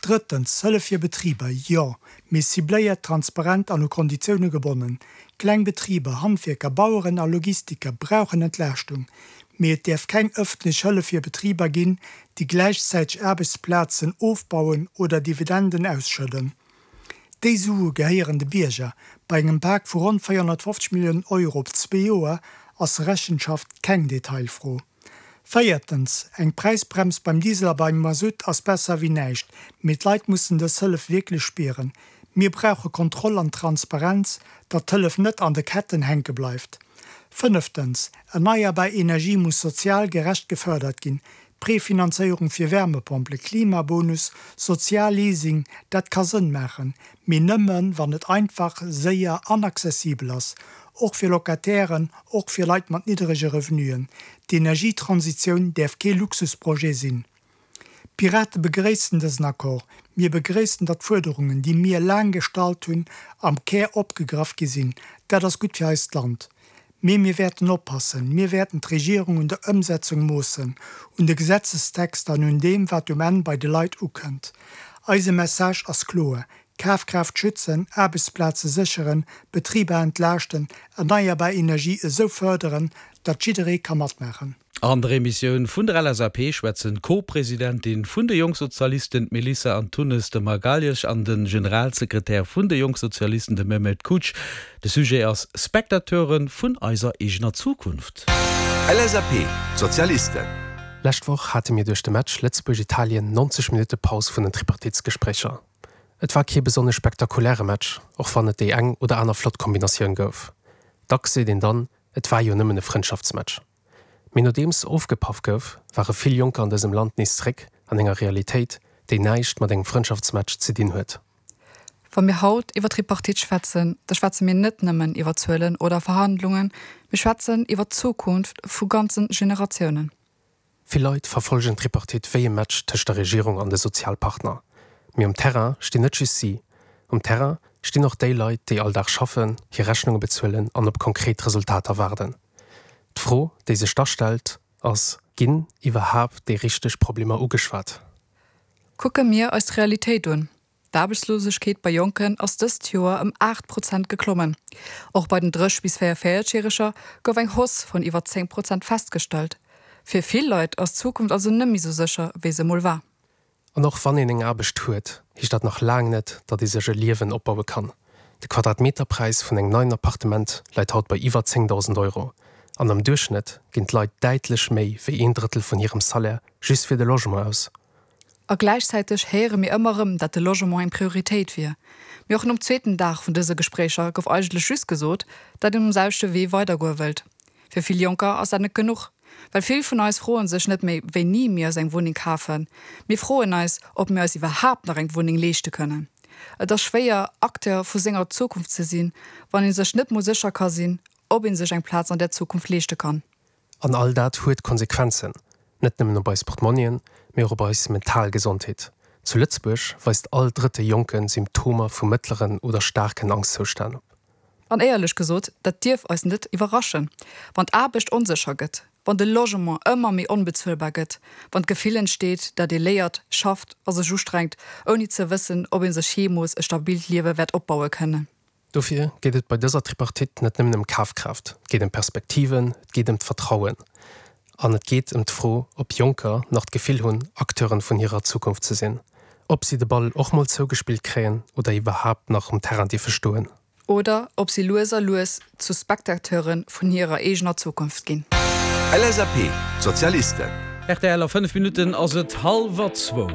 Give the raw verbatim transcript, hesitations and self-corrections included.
Drëttens, Hëllef fir Betriber, jo, mee cibléiert, transparent an u Konditioune gebonnen. Kleng Betriber, Handwierker, Baueren a Logistiker brauchen Entlaaschtung, mee et däerf keng ëffentlech Hëllef fir Betriber ginn, déi gläichzäiteg Aarbechtsplazen ofbauen oder Dividenden ausschëdden. Déi Sue gehéieren de Bierger. Bei engem Pak vu ronn véierhonnertfofzeg Milliounen Euro op zwee Joer ass Rechenschaft keng Detailfro. Véiertens, eng Präisbrems beim Diesel a beim Masutt ass besser wéi näischt, mee d'Leit mussen dës Hëllef wierklech spieren. Mir brauche Kontroll an Transparenz, datt d'Hëllef net an de Ketten hänke bleift. Fënneftens, erneierbar Energie muss sozial gerecht gefërdert ginn. Prefinanzéierung fir Wärmepompele, Klimabonus, Sozialleasing, dat ka Sënn maachen, mee nëmmen, wann et einfach, séier an accessibel ass, och fir Locatairen, och fir Leit mat nidderege Revenuen. D'Energietransitioun däerf kee Luxusprojet sinn. D'Pirate begréissen dësen Accord. Mir begréissen, datt d'Fuerderungen, déi mir laang gestallt hunn, am Kär opgegraff gi sinn. Dat ass gutt fir eist Land. Mee mir wäerten oppassen. Mir wäerten d'Regierung un der Ëmsetzung moossen, un de Gesetzestexter an un deem, wat um Enn bei de Leit ukënnt. Eise Message ass kloer, Kafkraaft schützen, Aarbechtsplaze sécheren, Betriber entlaaschten, erneierbar Energie esou fërderen, datt jidderee ka matmaachen. An der Emissioun vun der L S A P schwätzen d'Co-Presidentin vun de Jongsozialisten, d'Melissa Antunes de Magalhães, an de Generalsekretär vun de Jongsozialisten, de Mehmet Kuç. De Sujet ass Spectateure vun eiser eegener Zukunft. L S A P, Sozialisten. Lescht Woch hate mir duerch de Match Lëtzebuerg-Italien neunzeg Minutte Paus vun den Tripartitsgespréicher. Et war kee besonnesch spektakuläre Match, och wann et déi eng oder aner flott Kombinatioun gouf. Dacks seet een dann, et war jo nëmmen e Frëndschaftsmatch. Mee nodeems ofgepaff gouf, ware vill Jonker an dësem Land nees zréck an enger Realitéit, déi näischt mat engem Frëndschaftsmatch ze dinn huet. Wa mir haut iwwer Tripartite schwätzen, da schwätze mir net nëmmen iwwer Zuelen oder Verhandlungen, mir schwätzen iwwer d'Zukunft vu ganze Generatiounen. Vill Leit verfollegen d'Tripartite wéi e Match tëscht der Regierung an de Sozialpartner. Mee um Terrain stinn net just si. Um Terrain stinn och déi Leit, déi all Dag schaffen, hir Rechnunge bezuelen an op konkret Resultater waarden. D'Fro, déi sech da stellt, ass, Ginn iwwerhaapt déi richteg Problemer ugeschwat? Kucke mir eis d'Realitéit un. D'Aarbechtslosegkeet bei Jonken ass dëst Joer ëm aacht Prozent geklommen. Och bei den drësseg bis véierenvéierzeg-Järeger gouf eng Hausse vun iwwer zéng Prozent festgestallt. Fir vill Leit ass d'Zukunft also net méi sou sécher, wéi se mol war. An och wann een eng Aarbecht huet, heescht dat nach laang net, datt ee sech e Liewen opbaue kann. De Quadratmeterpräis vun engem neien Appartement läit haut bei iwwer zéngdausend Euro. An am Duerchschnëtt ginn d'Leit däitlech méi wéi een Drëttel vun hirem Salaire just fir de Logement aus. A gläichzäiteg héiere mir ëmmer erëm, datt de Logement eng Prioritéit wier. Mee och nom zweeten Dag vun dëse Gespréicher gouf eigentlech just gesot, datt een um selwechte Wee weidergoe wëllt. Fir vill Jonker ass dat net genuch. Well vill vun eis froen sech net méi, wéini mir eis eng Wunneng kafen. Mir froen eis, ob mir eis iwwerhaapt nach eng Wunneng leeschte kënnen. Et ass schwéier, Acteur vu senger Zukunft ze sinn, wann ee sech net mol sécher ka sinn, ob ee sech eng Plaz an der Zukunft leeschte kann. An all dat huet Konsequenzen, net nëmmen op eis Portmonnien, mee och op eis mental Gesondheet. Zu Lëtzebuerg weist all drëtte Jonke Symptomer vu mëttleren oder staarken Angschtzoustänn op. An éierlech gesot, dat dierf eis net iwwerraschen. Wann d'Aarbecht onsécher gëtt, wann de Logement ëmmer méi onbezuelbar gëtt, wann d'Gefill entsteet, datt ee léiert, schafft a sech ustrengt, ouni ze wëssen, ob ee sech jeemools e stabilt Liewe wäert opbaue kënnen. Dofir geet et bei dëser Tripartite net nëmmen ëm Kafkraaft, et geet ëm Perspektiven, et geet ëm d'Vertrauen. An et geet ëm d'Fro, ob Jonker nach d'Gefill hunn, Acteuren vun hirer Zukunft ze sinn. Ob si de Ball och mol zougespillt kréien oder iwwerhaapt nach um Terrain dierfe stoen. Oder ob si lues a lues zu Spectateure vun hirer eegener Zukunft ginn. L S A P, Sozialisten. R T L, A fënnef Minutten ass et hallwer zwou.